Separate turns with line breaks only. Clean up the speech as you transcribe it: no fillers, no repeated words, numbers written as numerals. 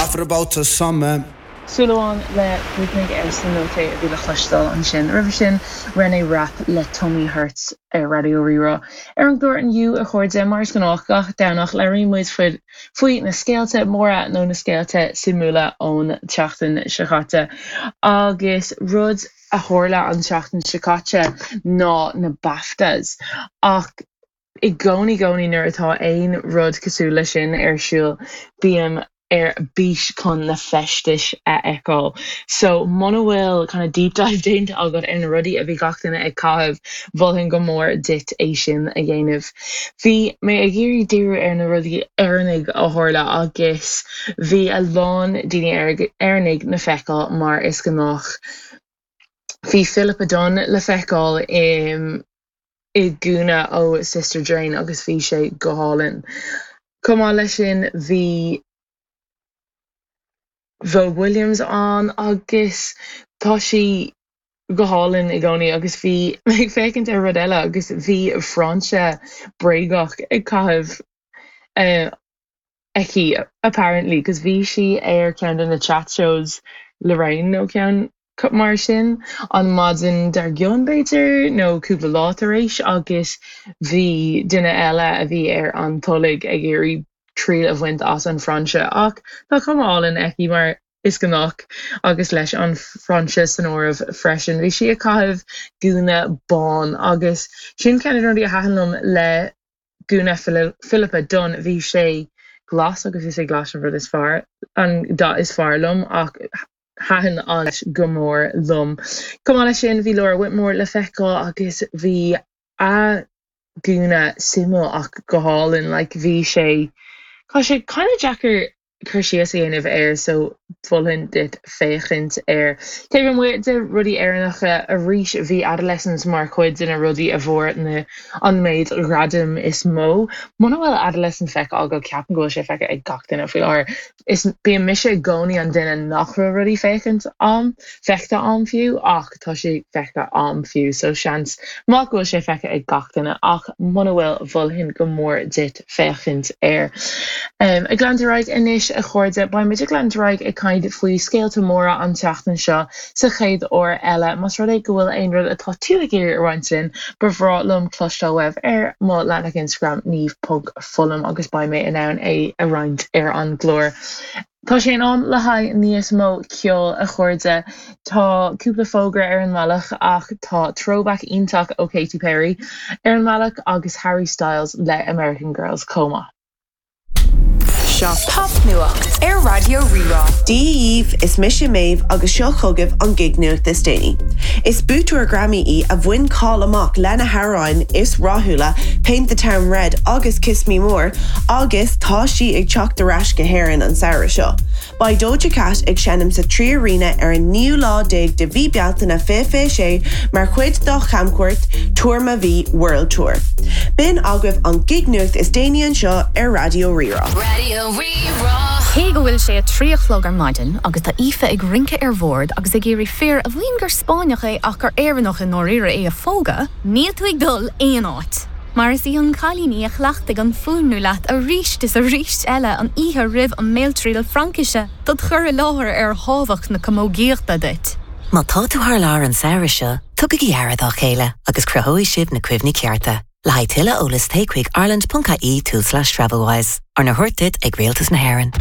After about the summer.
Súil Amháin le Brúchnaigh ar Cenote a bhí le cloisteáil ansin. Roimhe sin, Reneé Rapp le Tummy Hurts ar Raidió Rí-Rá. Ar an gclár inniu, a chairde, mar is gnách gach Domhnach, labhraíonn muid faoi na scéalta móra nó na scéalta suimiúla ón tseachtain seo caite. Agus rud a tharla an tseachtain seo caite ná na BAFTAs. Ach i gcónaí gcónaí nuair atá aon rud cosúil leis sin ar siúl, bím ar bís chun na feistis a fheiceáil. So muna bhfuil kind of deep dive déanta agat ar na rudaí a bhí gach duine ag caitheamh, mholfainn go mór duit é sin a dhéanamh. Bhí mé ag iarraidh díriú ar na rudaí Éireannaigh a tharla agus bhí a lán daoine Éireannaigh le feiceáil mar is gnách. Bhí Philippa Dunne le feiceáil i i gúna ó Sister Jane agus bhí sé go hálainn. Chomh maith leis sin bhí Vogue Williams ann agus tá sí go hálainn i gcónaí agus bhí mé ag féachaint ar rud eile agus bhí frainse bréagach ag caitheamh aici apparently 'cause bhí sí ar ceann de na chat shows Lorraine nó ceann mar sin an maidin dár gcionn b'fhéidir nó cúpla lá tar éis agus bhí duine eile a bhí ar an tolg ag iarraidh triail a bhaint as an frainse ach tá cuma álainn aici mar is gnách agus leis an frainse san áireamh freisin. Bhí sí ag caitheamh gúna bán agus sin ceann de na rudaí a thaitin liom le gúna Philippa Dunne, bhí sé glas agus is é glas an rud is fearr, an dath is fearr liom ach thaitin an go mór liom. Chomh maith leis sin bhí Laura Whitmore le feiceáil agus bhí a gúna suimiúil ach go hálainn, like bhí sé, tá sé kind of deacair cur síos a dhéanamh air so mholfainn duit féachaint air. Taobh amuigh de rudaí Éireannacha, arís bhí Adolescence mar chuid de na rudaí a bhfuair na an méid ghradaim is mó. Muna bhfuil Adolescence feicthe agat, ceapaim go bhfuil sé feicthe ag gach duine faoi láthair. Is bíonn mise i gcónaí an duine nach bhfuil rudaí féachaint a'm, feicthe a'm fiú, ach tá sé feicthe a'm fiú so seans maith go bhfuil sé feicthe ag gach duine ach muna bhfuil, mholfainn go mór duit féachaint air. Ag leanúint ar aghaidh anois a chairde, beidh muid ag leanúint ar aghaidh ag caint faoi scéalta móra an tseachtain seo sa chéad uair eile. Más rud é go bhfuil aon rud atá tú ag iarraidh a roinnt linn, ba bhreá liom cloisteáil uaibh ar mo leathanach Instagram niamh.fullam agus beidh mé in ann é a roinnt ar an gclár. Tá sé in am le haghaidh níos mó ceoil, a chairde. Tá cúpla fógra ar an mbealach ach tá throwback iontach ó Katy Perry ar an mbealach agus Harry Styles le American Girls chomh maith.
Seo Popnuacht ar Raidió Rí-Rá.
Dia dhaoibh, is mise Méabh agus seo chugaibh an gig-nuacht is déanaí. Is buaiteoir Grammy í a bhain cáil amach lena hamhráin is rathúla Paint the Town Red agus Kiss Me More agus tá sí ag teacht ar ais go hÉirinn an samhradh seo. Beidh Doja Cat ag seinm sa 3Arena ar an naoú lá déag de mhí Bealtaine 2026 mar chuid dá chamchuairt Tour Ma Vie World Tour. B'in agaibh an gig-nuacht is déanaí anseo ar Raidió Rí-Rá.
Raidió Rí-Rá.
Cé go bhfuil sé a 3 a chlog ar maidin agus tá Aoife ag rince ar bhord agus ag iarraidh fear a mhaíonn gur Spáinneach é ach gur Éireannach i ndáiríre é a phógadh, níl tú ag dul aon áit! Mar is í an cailín í a chleachtaigh an fuaimniú leat arís is arís eile an oíche roimh an mbéaltriail Fraincise dod chur i láthair ar thábhacht na camógaíochta duit.
Má tá tú thar lear an samhradh seo, tugaigí aire dá chéile agus cruthóidh sibh na cuimhní cearta. Le haghaidh tuilleadh eolais téigh chuig ireland.ie tulslais travelwise. Arna thabhairt duit ag Rialtas na hÉireann.